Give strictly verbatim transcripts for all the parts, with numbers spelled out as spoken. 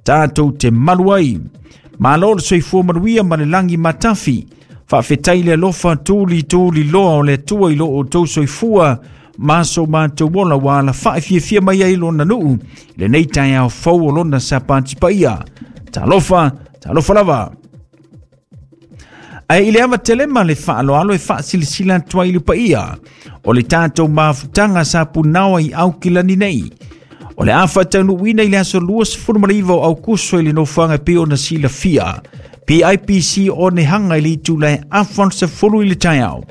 Tātou te malu ai. Malo le soifua manuia ma le lagi matafi. Faafetai le alofa tuli tuli loa o le Atua i lo outou soifua ma so matou ola ua alafa'i mai ai lona nuu lenei taeao fou o lona Sapati paia. Talofa, talofa lava. Ae i le ava tele ma le faaaloalo e faasilasila atu ai i le paia o le tatou mafutaga sa punao i Aukilani nei. O le a faataunuuina i le aso luasefulumanaiva o Aukuso i le nofoaga e pei ona silafia P I P C o Nehanga i le itula e afa sefulu i le taeao.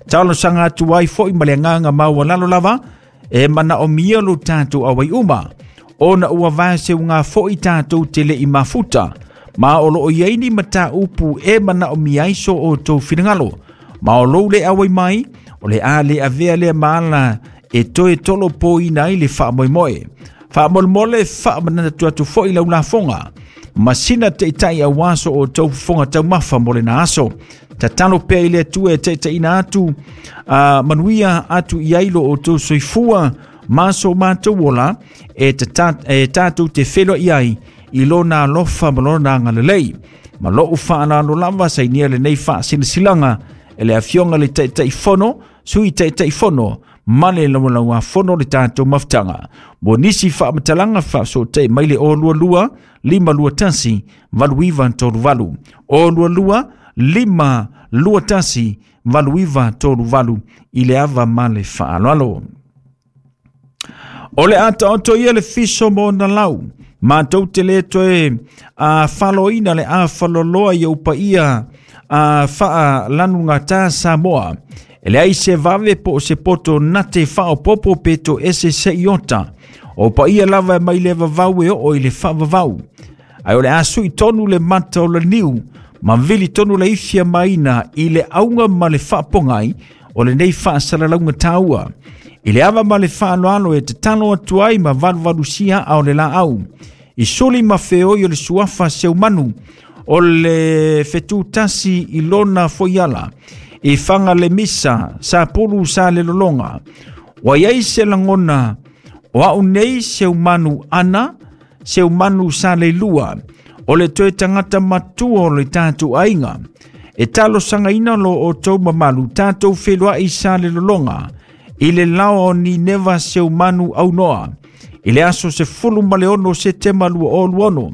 Talosaga atu ai foi ma le agaga maualalo lava e manaomia lo tatou auai uma ona ua vaeseuga foi tatou te le i mafuta ma o loo iai ni mataupu e manaomia ai so outou finagalo ma o lou le auai mai o le a le avea lea ma ala e toe tolopoina ai le faamoemoe. Faamolemole faamanatu atu foi lau lafoga masina taitai auā so outou fofoga taumafa mo lena aso. Tatalo pea i le Atua e taitaiina atu uh, manuia atu i ai lo outou soifua ma so matou ola e, tata, e tatou te feloai ai i lona alofa ma lona agalelei. Ma lou faalalo lava sainia lenei faasilasilaga e le afioga le Taitaifono, Sui Taitaifono ma le laulauafono le tatou mafutaga. Mo nisi faamatalaga faafesootai mai le o lua lua, lima lua tasi, valu iva tolu valu. O lua lua, lima lua tasi, valu iva tolu valu i le ava ma le faaaloalo. O le a taoto ia le fiso mo ona lau. Matou te le toe a faloina le a faloloa i au paia a faalanugata Samoa. E leai se vave po o se poto nate faaopopo pe to ese seiota. O paia lava e mai le vavau e oo i le faavavau. Ae o le a sui tonu le mata o le niu, ma vili tonu le ifia maina i le auga ma le faapogai o lenei faasalalauga taua. I le ava ma le faaaloalo e tatalo atu ai ma valuvalusia a o le laau. I suli ma feoi o le suafa seumanu o le fetutasi i lona foiala. I fanga le misa, sa pulu sa le lolonga. Ua iai se lagona o au nei seumanu ana, seumanu sa le lua. O le toe tagata matua o le tatou aiga. E talosagaina lo outou mamalu tatou feloai sa le lolonga. I le lao o Nineva seumanu aunoa. I le aso sefulu ma le ono Setema lua o lua ono.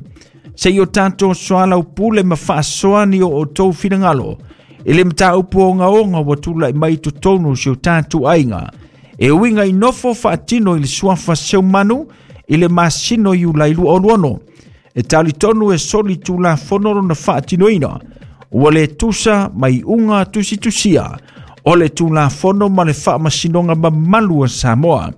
Se i o tatou soalau pule ma faasoani o outou finagalo. I le mataupu ogaoga ua tula'i mai totonu o si o tatou aiga. E uiga i nofo faatino i le suafa seumanu i le masino Iulai lua o lua ono. E talitonu e soli tulafono lona faatinoina. Ua le tusa mai uga tusitusia o le tulafono ma le faamasinoga mamalu a Samoa.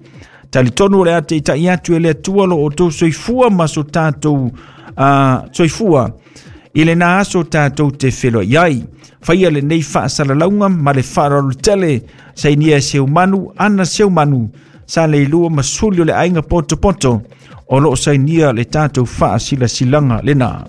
Talitonu o le a taitai atu e le Atua lo outou soifua ma so tatou uh, soifua i lena aso tatou te feloai ai. Faia lenei faasalalauga ma le faaaloalo tele sainia e seumanu ana seumanu sa le ilua ma suli o le aiga potopoto o loo sainia le tatou faasilasilaga lena.